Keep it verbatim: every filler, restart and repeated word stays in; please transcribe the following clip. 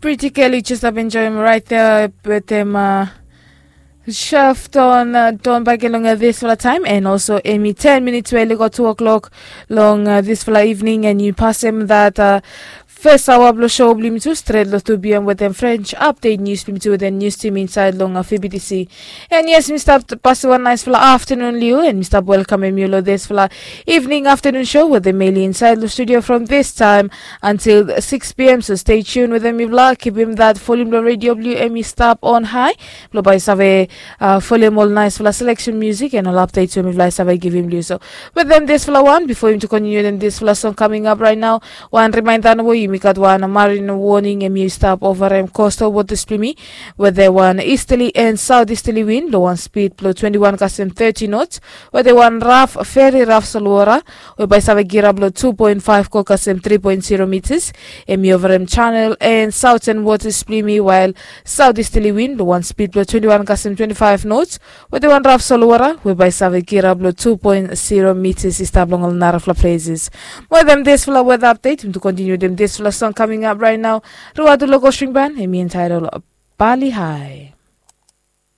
Pretty Kelly just up enjoy him right there with him uh, Shaft on uh, don back along uh, this for a time and also Amy ten minutes where go two o'clock long uh, this for evening and you pass him that uh, first hour blo show blim tu straight lo two p.m. with them French update news blim tu with the news team inside long uh, F B T C. And yes, Mister Pasi one nice for afternoon Liu and Mister Welcome Emi lo this for evening afternoon show with the Meli inside the studio from this time until six p.m. So stay tuned with them. If la keep him that volume the radio W M E stop on high. Blo bai save uh, follow him all nice for selection music and all updates when we save give him you. So with them this for one before him to continue them this for song coming up right now. One reminder no you make one marine warning and you stop over him coastal waters plimi with the one easterly and southeasterly wind lo one speed below twenty-one kasem thirty knots. Where they one rough, very rough solwara. Whereby save gira below two point five ko kasem three point zero meters. Emi over him channel and southern waters plimi while southeasterly wind lo one speed below twenty-one kasem twenty-five knots. Where they one rough solwara. Whereby save gira below two point zero meters is tablong all narafla places. Where them this for weather update. Him to continue them this for song coming up right now. Ruatu local string band. Emi entitled Bali High.